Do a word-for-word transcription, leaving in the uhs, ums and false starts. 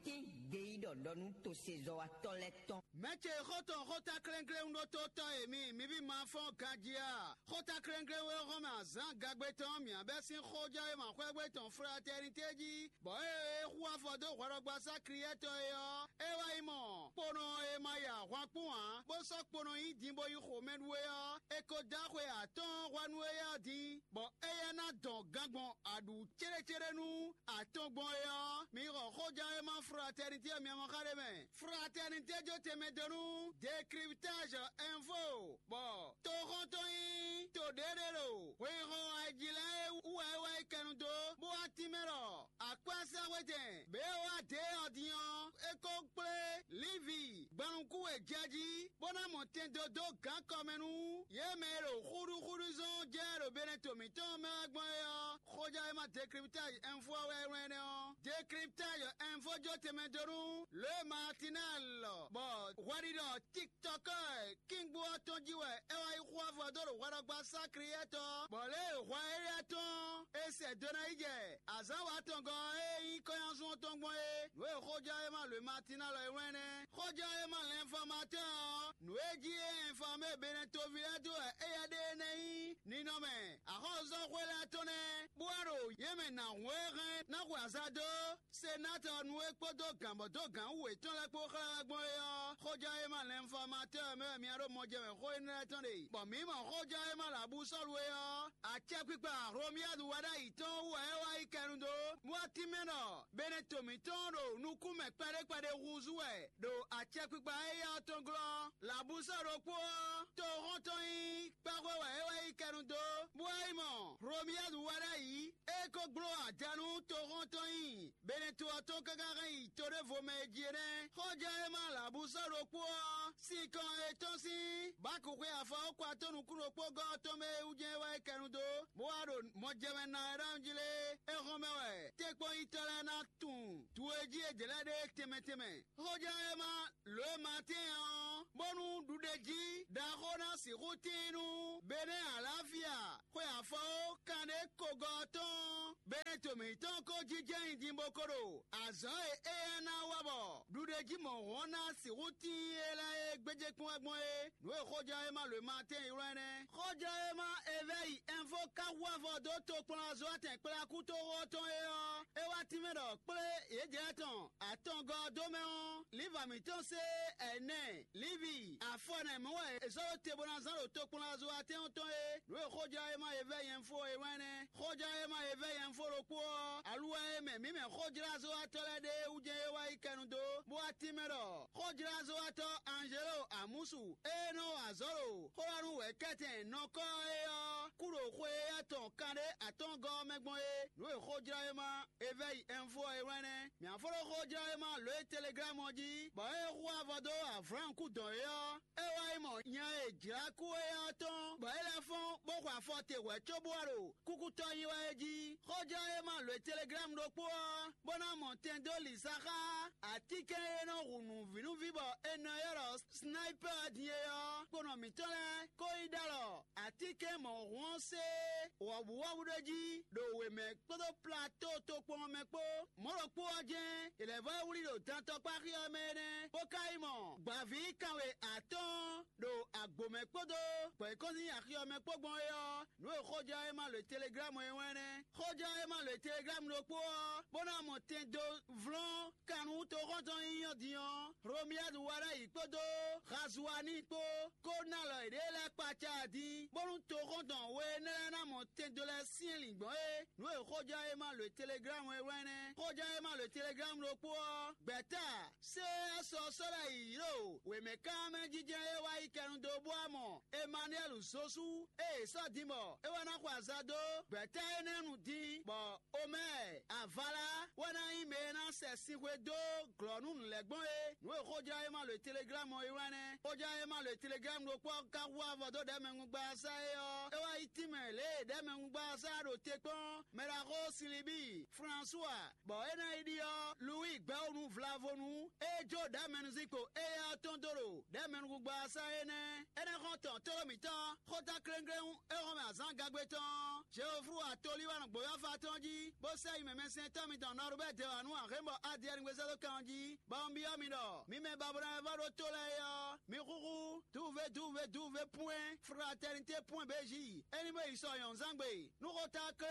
Tín gbeyíɖɔ ɖɔ nú tosezɔ́watɔ́ lɛ́ɛ tɔn. Mɛ̌ ce xɔ́ntɔn xóta klɛ́nklɛ́n ɖótótɔ́ e mi, mi ví ma fɔ́n ganjí a? Xóta klɛ́nklɛ́n e hɔn mɛ azǎn gagbe tɔn mǐ bɛ́ sín xójɛ́wéma xwɛ́gbé tɔn Fratɛnité jí, bɔ ée é hu afɔ dó hwɛɖɔgbasá Kliyɛ́tɔ́ é ɔ́, é wá yi mɔ kponɔ e ma ya ahwan kpún ǎ, bó sɔ́ kponɔ nyi din bó yi xomɛɖu é ɔ́, è ko dó axwe atɔ́ɔ́n hwɛ nú éyɛ́ ɔ́ din, bɔ éyɛ́ ná dɔn gan gbɔn aɖǔ céɖécéɖé nú atɔn gbɔn é ɔ́, mi xɔ xójɛ́wéma Fratɛnité ɔ́ miamɔxa ɖé mɛ. Fratɛnité jó tɛnmɛ dó nú Décryptage Info, bɔ toxɔ́ntɔn nyí to ɖěɖé ɖo hwexɔ ayijlɛ́n e wú wɛ é wá yi kɛnu dó, bó wá tínmɛ ɖɔ akwɛ́sáhwetɛn bě e wá dě ɔ́ din ɔ́, é ko kplé Livi gbɔnnukún e jɛ jí, bó ná mɔ tɛn dó dó gǎn kɔ mɛ nú yě mɛ e ɖo xúɖúxúɖú zɔn jɛ ɖo Beneto mǐtɔn mɛ wɛ gbɔn é ɔ́. Xójɛ́wéma Décryptage Info ɔ́ wɛ é wlán énɛ́ ɔ́. Décryptage Info jó tɛnmɛ dó nú Le Matinal, bɔ hwɛɖiɖɔ TikTok kíngbó ɔ́ tɔn jí wɛ é wá yi xú afɔ dó ɖo hwɛɖɔgbasá Kliyɛ́tɔ́, bɔ lě e hwɛ éyɛ́ tɔn e sɛ do ná yi jɛ azǎn watɔngɔ́ e nyí kɔ́nyásun ɔ́ tɔn gbɔn é. Nǔ e xójɛ́wéma Le Matinal ɔ́ e wlán nɛ́. Xójɛ́wéma L'Informateur ɔ́, nǔ e jí é informé Beneto ví lɛ́ɛ dó wɛ éyɛ́ ɖe énɛ́ nyí ninɔmɛ axɔ́súzɔ́xwé lɛ́ɛ tɔn nɛ́, bó wá ɖo yě mɛ nǎ hun e hɛn ná xwe azǎn dó Senatɔ nu e kpódó gǎnbɔ́dógǎn wú yětɔn lɛ́ɛ kpó xlɛ́ wɛ gbɔn é ɔ́, xójɛ́wéma L'Informateur mɛ wɛ mi ɖo mɔjɛmɛ xó énɛ́ lɛ́ɛ tɔn ɖe, bɔ mǐ mɔ xójɛ́wéma Labusɔ́lu é ɔ́, acɛkpikpa Romiyadu wá ɖ'ayǐ tɔn wú wɛ é wá yi kɛnu dó, bó wá tínmɛ ɖɔ Beneto mǐtɔn ɖo nukúnmɛ kpɛɖé kpɛɖé húzú wɛ ɖo acɛkpikpa éyɛ́ ɔ́ tɔn glɔ́. Labusɔ́ ɖokpó ɔ́, toxɔ́ntɔn nyí kpáxwé wɛ é wá yi kɛnu dó, bó wá yi mɔ Romiyadu wá ɖ'ayǐ. É ko gbló ada nú toxɔ́ntɔn nyi Beneto ɔ́ tɔn káká hɛn yi to ɖěvo mɛ e jí é nɛ́. Xɔjɛ́wéma Labusɔ́ ɖokpó ɔ́, sinkɔn e tɔ́n sín Baku xwe afɔ ɔ́ kɔ atɔ́ nukún ɖokpó gɔ́ ɔ́ tɔn mɛ e wú jɛ́n é wá yi kɛnu dó, bó wá ɖo mɔjɛmɛ ná ɛ ɖ'ayǐ jí lé. É hɔn mɛ wɛ tɛ́nkpɔ́nyitɔ́ lɛ́ɛ ná tunwun dǔ e jí è jɛ lɛ́ɛ ɖe tɛnmɛ tɛnmɛ. Xójɛ́wéma lǒ e ma tɛ́n ɔ́, bónú ɖuɖéjí ɖaxó ná sixú tíin nú Benɛ́ Alafia xwe afɔwo kanɖé kogɔ́ ɔ́ tɔn. Benɛ́ to mǐtɔn ko jínjɔ́n nyi din bó ko ɖo azɔ̌ e éyɛ́ ná wa bɔ ɖuɖéjí mɔ̌hɔn ná sixú tíin é lɛ́ɛ é gbéjé kpɔ́n wɛ gbɔn é. Nǔ e xójɛ́wéma lǒ e ma tɛ́n ylɔ́ ɛnɛ́. Xójɛ́wéma Evɛ́yi Ɛnfo ka hu avɔ dó tokplɔ́nzɔ́watɛn kplé akútoxo ɔ́ tɔn é ɔ́, é wá tínmɛ ɖɔ kplé yějɛ́ tɔn atɔngɔ́ ɔ́ dó mɛ ɔ́, Liva mǐtɔn sé ɛnɛ, Livi, afɔ nɛ mɔ̌ wɛ è sɔ́ ɖó te bó ná zán ɖo tokplɔ́nzɔ́watɛn ɔ́ tɔn é. Nǔ e xójɛ́wéma Evɛ́yi Ɛnfo é wlán nɛ́. Xójɛ́wéma Evɛ́yi Ɛnfo ɖokpó ɔ́, aluwɛ e mɛ mǐ mɛ xójlázɔ́watɔ́ lɛ́ɛ ɖe é wú jɛ́n é wá yi kɛnu dó, bó wá tínmɛ ɖɔ xójlázɔ́watɔ́ Anzelo Amusu e nɔ wa azɔ̌ ɖo xó wá nú wɛ̌kɛ́tɛn nɔkɔ́ é ɔ́, kú ɖo xwe éyɛ́ tɔn kanɖé atɔ́ɔ́ngɔ́ ɔ́ mɛ gbɔn é. Nǔ e xójlawéma Evɛ́yi Ɛnfo ɔ́ é wlán nɛ́. Mǐ á fó ɖó xójlawéma lǒ e Teleglámu ɔ́ jí, bɔ é xú avɔ dó Avlɔ́ɔn kú dɔn é ɔ́, é wá yi mɔ nya e è jlǎ kú é ɔ́ tɔn, bɔ é lɛ́ fɔ́n bó xɔ afɔ te hwɛ̌ cóbó wá ɖo kúkútɔ́ nyi wɛ é jí. Xójlawéma lǒ e Teleglámu ɖokpó ɔ́, bó ná mɔ tɛn dó lǐsa xá atínkɛn e nɔ hu nǔvínúví bɔ è nɔ ylɔ́ ɖɔ Snayipɛ́ ɔ́ din é ɔ́, kponɔ mǐtɔn lɛ́ɛ ko yi ɖɔ alɔ atínkɛn mɔ̌hun ɔ́ sé wɔ̌buwɔ́bú ɖé jí ɖo wěmɛ kpódó platóo tokpɔn ɔ́ mɛ kpó. Mɔ̌ ɖokpó ɔ́ jɛ́n è lɛ̌ vɔ́ wlí ɖo dantɔkpáxi ɔ́ mɛ énɛ́, bó ka yi mɔ gbǎví kanwe atɔ́ɔ́n ɖo agbǒ mɛ kpódó gbɔ̌yíkɔ́nsin axi ɔ́ mɛ kpó gbɔn é ɔ́, nǔ e xójɛ́wéma lǒ Teleglámu é wɛ́n nɛ́. Xójɛ́wéma lǒ Teleglámu ɖokpó ɔ́, bó ná mɔ tɛn dó vlɔ́n Kanútoxɔ́ntɔn nyínyɔ́ din ɔ́, Hlomiyadu wa ɖ'ayǐ kpódó Hazuani kpó kó ná alɔ yěɖée lɛ́ɛ kpaca din, bónú toxɔ́ntɔn we énɛ́ lɛ́ɛ ná mɔ tɛndo lɛ́ɛ sín lǐngbɔ́n é. Nǔ e xójɛ́wéma lǒ Teleglámu é wlán nɛ́. Xójɛ́wéma lǒ Teleglámu ɖokpó ɔ́, gbɛ̌ta sé ɔ́ sɔ sɔ́ ɖ'ayǐ ɖo wěmɛkánmɛ jijɛ e wá yi kɛnu dó bó wá mɔ Emanuɛ́lu Zosu e è sɔ́ din bɔ é wá ná xɔ aza dó gbɛ̌ta énɛ́ nu din, bɔ Omɛ́ɛ Avala wɛ ná nyí mɛ e ná sɛ sinxwe dó glɔ̌ nú nǔ lɛ́ɛ gbɔn é. Nǔ e xójlawéma lǒ Teleglámu ɔ́ yi wlán nɛ́. Xójlawéma lǒ Teleglámu ɖokpó ɔ́ ka hu avɔ dó ɖɛ̌mɛngungbasá é ɔ́, é wá yi tínmɛ lě e ɖɛ̌mɛngungbasá ɖo te kpɔ́n mɛɖaxó Silibíi Flansúa, bɔ é ná yi ɖyɔ́ Luwíi gbɛ̌wunu vlavonu e jó ɖɛ̌mɛnuzinkpo éyɛ́ ɔ́ tɔn dó ɖo ɖɛ̌mɛnukúngban ɔ́ sá é nɛ́. Énɛ́ xɔ́n tɔn tlóló mǐtɔn xóta kléŋkléŋ é hɔn mɛ azǎn gagbe tɔn ɔ́, Jeoflu atolíwánɔ gbǒyɔ́fa tɔn jí, bó sɛ yi mɛmɛsɛntɔ́ mitɔn Nɔrubɛ́ dɛwanu Ahɛ̌nbɔ Adiyɛnigbe sɛ́ dó kan ɔ́ jí, bɔ un byɔ́ mi ɖɔ mi mɛ babɔnɔ e vɔ́ ɖó tó lɛ́ɛ é ɔ́, mi xúxú duve duve duve pwɛ́n fraternité pwɛ́n béji. É ní bó yi sɔ nyɔ̌nuzángbe, nú xóta